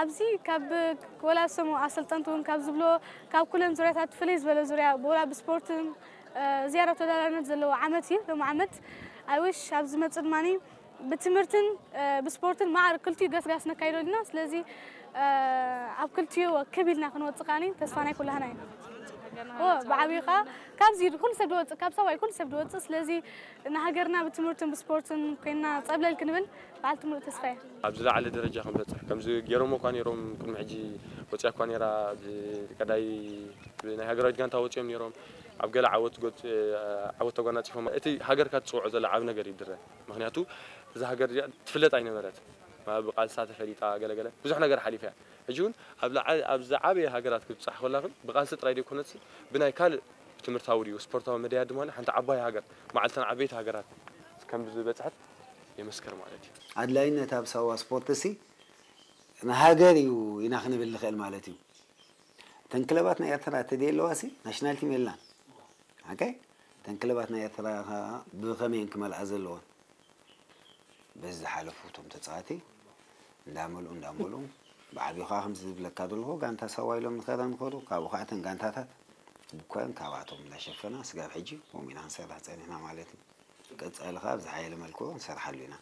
ኣብዚ ካብ ወላ ሰሙ ኣሰልጠንቲ እውን ካብ ዝብሎ ካብ ኩለን ዙርያታት ፍልይ ዝበለ ዙርያ ብወላ ብስፖርትን ዝያዳ ተወዳዳሪነት ዘለዎ ዓመት እዩ። ሎም ዓመት ኣይሽ ኣብ ዝመፅእ ድማ ብትምህርትን ብስፖርትን ማዕር ክልቲኡ ገስጋስ ነካይዶ ኣለና። ስለዚ ኣብ ክልቲኡ ክብ ኢልና ክንወፅእ ከዓኒ ተስፋ ናይ ኩላህና እዩ። ብዓብዩ ከዓ ካብዚ ኩሉ ሰብ ድወፅእ ካብ ሰብኣይ ኩሉ ሰብ ድወፅእ። ስለዚ ንሃገርና ብትምህርትን ብስፖርትን ኮይና ፀብለል ክንብል በዓልቲ ሙሉእ ተስፋ እየ። ኣብ ዝለዓለ ደረጃ ክንበፅሕ ከምዚ ገይሮሞ እኳ ነይሮም። ቅድሚ ሕጂ ወፅያ እኳ ነይራ። ብቀዳይ ናይ ሃገራዊት ጋንታ ወፅዮም ነይሮም። ኣብ ገለ ዓወት ጎት ዓወት ተጓናፂፎም። እቲ ሃገርካ ትፅውዖ ዘሎ ዓብ ነገር ይድረ። ምክንያቱ እዛ ሃገር እዚኣ ትፍለጥ ኣይነበረት። ብቃልሳ ተፈሊጣ ገለገለ ብዙሕ ነገር ሓሊፈ እያ። ሕጂ እውን ኣብ ዝዓበየ ሃገራት ክትብፃሕ ኮላ ግን ብቃልሲ ጥራይ ዘይኮነትስ ብናይ ካልእ ትምህርታዊ ድዩ ስፖርታዊ መዳያ ድማ ሓንቲ ዓባይ ሃገር መዓልተን ዓበይቲ ሃገራት ከም ዝበፅሐት የመስክር ማለት እዩ። ኣድላይነት ኣብ ሳዋ ስፖርት ሲ ንሃገር እዩ ኢና ክንብል ንኽእል ማለት እዩ። እተን ክለባት ናይ ኤርትራ ተደይ ኣለዋ ሲ ናሽናል ቲም የላን። ሓቀይ እተን ክለባት ናይ ኤርትራ ብኸመየን ክመልኣ ዘለዎን በዚ ዝሓለፉ እቶም ተፃዋቲ እንዳመልኡ እንዳመልኡ ብዓብዩ ከዓ ከምዚ ዝብለካ ዘለኹ ጋንታ ሳዋ ኢሎም ንኸዳ ንኸዱ ካብኡ ከዓ እተን ጋንታታት ብኮን ካብኣቶም እንዳሸፈና ስጋብ ሕጂ ከምኡ ኢና ክንሰርሕ ፀኒሕና ማለት እዩ። ቀፃሊ ከዓ ብዝሓየለ መልክዑ ክንሰርሓሉ ኢና።